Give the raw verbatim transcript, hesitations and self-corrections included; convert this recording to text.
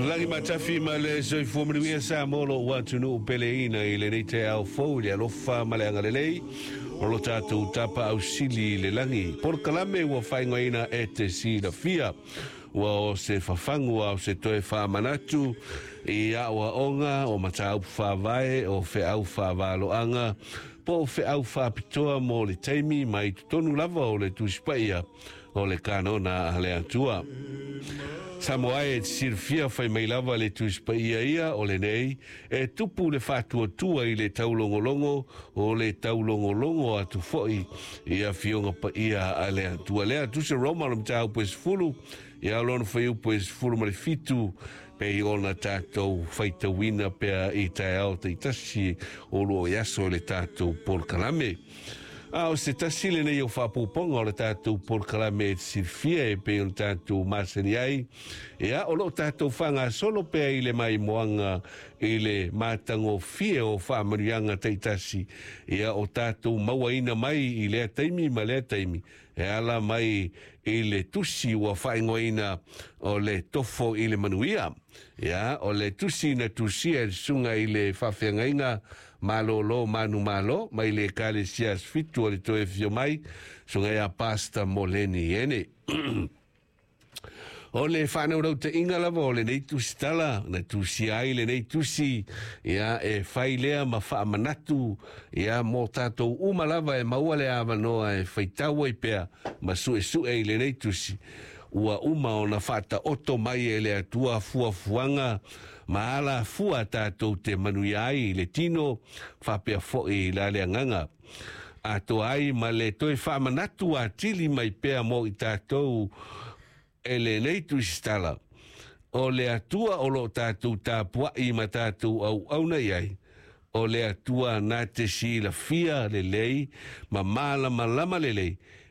Lagi matafi ma le soifua manuia Samoa, lou atunuu peleina, i lenei taeao fou i le alofa ma le agalelei o lo tatou Tapaau Sili i le lagi. Polokalame ua faaigoaina E Te Silafia, ua o se fafagu a o se toe faamanatu i aʻoaʻoga o mataupu faavae o feau faavaloaga po o feau faapitoa mo le taimi mai totonu lava o le Tusi Paia o le Kanona a le Atua. Samoa e silafia, fai mai lava le Tusi Paia ia o lenei e tupu le faatuatua i le taulogologo o le taulogologo atu foi i afioga paia a le Atua. Lea Tusi Roma o le mataupu e sefulu ia lona fuaiupu e sefulu ma le fitu, pei ona tatou faitauina pea i taeao taitasi o loo i aso i le tatou polokalame. A o se tasi lenei o faapuapuaga o le tatou polokalame E Silafia e pei ona tatou masani ai, ia o loo tatou faagasolo pea i le maimoaga i le matagofie o faamanuiaga taitasi ia o tatou mauaina mai i lea taimi ma lea taimi e ala mai i le tusi ua faaigoaina o le Tofo i le Manuia. Ia o le tusi na tusia e le susuga i le faafeagaiga malolo manu malo mai le Ekalesia Fitu o le Toe Afio Mai, susuga ia Pastor Moleni Ene. O le faanaunautai lava o lenei tusitala na tusia ai lenei tusi, ia e fai lea ma faamanatu ia mo tatou uma lava e maua le avanoa e faitau ai pea ma suesue i lenei tusi. Ua uma ona faataoto mai e le Atua fuafuaga ma ala fua tatou te manuia ai i le tino faapea foi i la le agaga atoa ai, ma le toe faamanatu atili mai pea mo i tatou e lenei tusitala. O le Atua o loo tatou tapuai ma tatou auauna i ai, o le Atua na te silafia lelei ma malamalama lelei.